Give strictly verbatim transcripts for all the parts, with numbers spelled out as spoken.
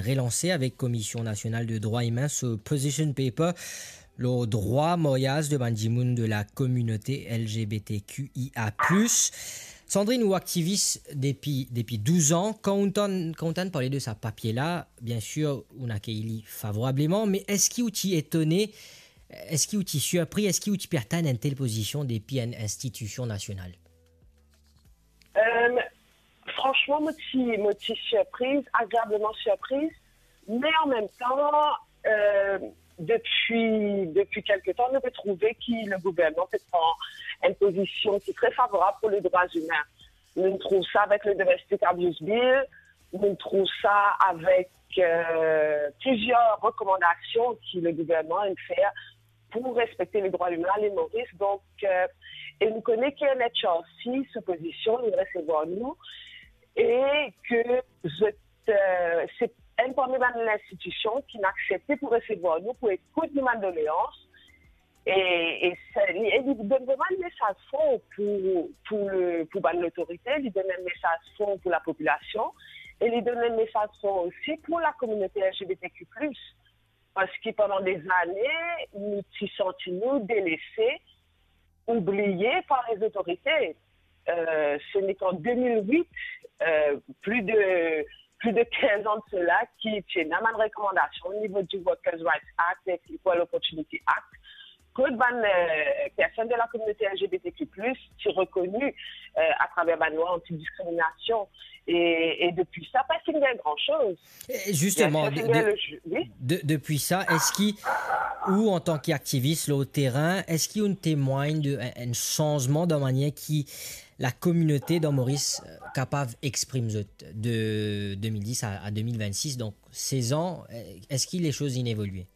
relanse avek Komision Nasional de Drwa Imin so position paper lor drwa maryaz de bann dimoun de la kominote L G B T Q I A plus. Sandrine, ou aktivis depi, depi douz an. Kan ou tann, kan ou tann parle de sa papie la, bien sir, ou inn akeyir li favorableman, me eski ou ti etone, eski ou ti sirpri, eski ou ti pe atann enn tel pozision depi enn institision nasional? Euh, franchement, mo ti, mo ti sirpriz, agreableman sirpriz, me an mem tan, euh, depi, depi kelke tan, nou pe trouve ki le gouvernman pe pran enn pozision ki tre favorab pou le drwa imin. Nou trouv sa avek le Domestic Abuse Bill, nou trouv sa avek, euh, plizier rekomandasion ki le gouvernman inn fer pou respekte le drwa imin a Lil Moris. Donk, euh, e nou kone ki N H R C, so pozision, inn resevwar nou, e ke zot, euh, se enn parmi bann linstitision ki inn aksepte pou resevwar nou, pou ekout nou bann doleans. E, e sa, li, e li donn vreman enn mesaz for pou, pou, le, pou bann lotorite, li donn enn mesaz for pou lapopilasion, e li donn enn mesaz for osi pou lakominote L G B T Q plus. Parski pandan dezane, nou ti santi nou delese, oubliye par lezotorite. Euh, se nek an de mil wit, euh, pli de, pli de kinz an de sela, ki ti ena bann rekomandasion o nivo di Workers' Rights Act ek Equal Opportunity Act, kot bann, euh, personn de lakominote L G B T Q plus ti rekoni, euh, atraver bann lwa antidiskriminasion. E, e depi sa, pa finn gagn gran soz. E zisteman, de, de, depi sa, eski ou, antan ki aktivis lor terin, eski ou temwagn de enn, enn sanzman dan manier ki lakominote dan Moris, euh, kapav exprim zot de de mil dis a, a de mil vennsis, donk sez an, euh, eski lesoz inn evolie?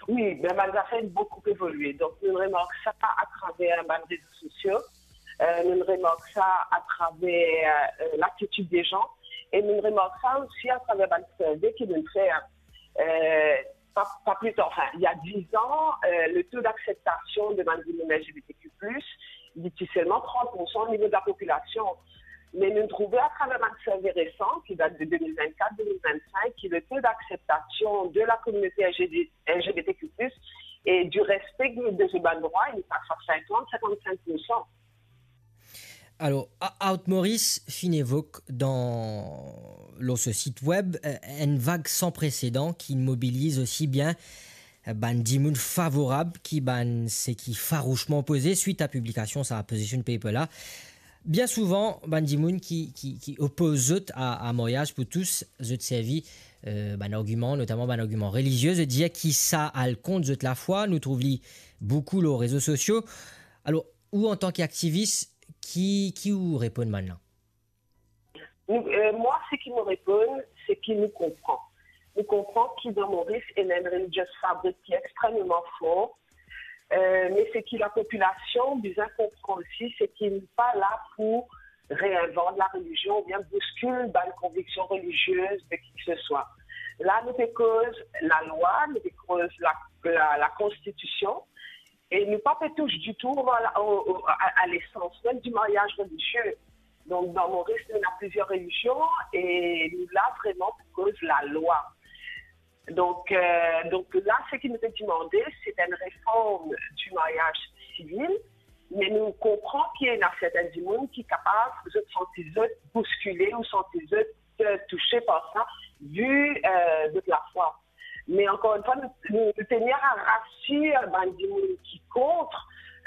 Wi, be bann zafer inn boukou evolie. Donk, nou remark sa atraver bann rezo sosio, euh, nou remark sa atraver, euh, latitid de zan, e nou remark sa osi atraver bann sirve ki nou fer, euh, pa, pa pli tar, enfin, il y a dix ans, euh, le taux d'acceptation de bann dimoun L G B T Q plus, li ti selman trant pour san o nivo de lapopilasion. Me nou trouve atraver bann sirve resan, ki dat de de mil vennkat, de mil vennsink, ki le taux d'acceptation de lakominote L G B T Q plus e du respect de zot bann drwa, li pas a sinkant, sinkant-sink pour san. Alor, A-, Out Moris finn evok dan, lor so sit web, euh, enn vag san presedan ki mobiliz osi bien, euh, bann dimoun favorab ki bann seki farousman opoze swit a piblikasion sa position paper la. Bien souvan, bann dimoun ki, ki, ki opoz zot a, a maryaz pou tous, zot servi, euh, bann argiman, notaman bann argiman relizie, zot dir ki sa al kont zot lafwa, nou trouv li boukou lor rezo sosio. Alor, ou, antan ki aktivis, ki, ki ou reponn bann la? Nou, euh, mwa, seki mo reponn, se ki nou konpran. Nou konpran ki dan Moris, ena enn religious fabric ki extrememan for, euh, me seki lapopilasion bizin konpran osi, se ki nou pa la pou reinvant larelizion oubien bouskil bann konviksion relizie de ki ke se swa. La, nou pe koz lalwa, nou pe koz la, la, lakonstitision, e nou pa pe tous ditou a la, o, o, a, a lesans mem di maryaz relizie. Donk, dan Moris, nou ena plizier relizion e nou la vreman pou koz lalwa. Donk, euh, donk la, seki nou pe demande, se enn reform di maryaz sivil, me nou konpran ki ena sertin dimoun ki kapav, zot santi zot bouskile ou santi zot, euh, touse par sa, vi, euh, zot lafwa. Me ankor enn fwa, nou, nou, nou tenir a rasir bann dimoun ki kont,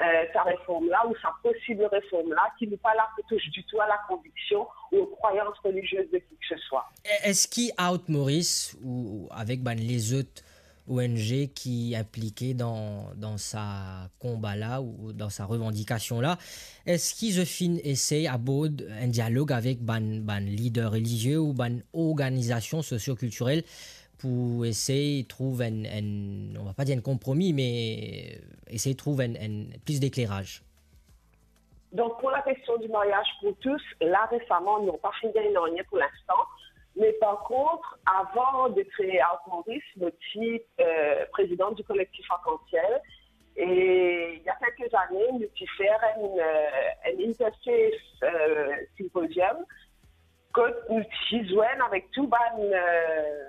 euh, sa reform la ou sa posib reform la, ki nou pa la pou tous ditou a lakonviksion ou krwayans relizie de ki ke se swa. E-, eski Out Moris ou, ou avek bann lezot O N G ki inplike dan, dan sa konba la ou dan sa revandikasion la, eski zot finn esey abord enn dialog avek bann, bann lider relizie ou bann organizasion sosio-kiltirel pou esey trouv enn, enn, on va pas dire enn konpromi, me esey trouv enn, enn plis dekleraz? Donk, pou lakestion di maryaz pou tous, la, resaman, non, pa finn gagn nanye pou linstan. Me par kont, avan de kree Out Moris, mo ti, euh, prezidan di Kolektif Arkansiel. E il y a kelke zane, nou ti fer enn, euh, enn interfaith, euh, symposium, kot nou ti zwenn avek tou bann, euh,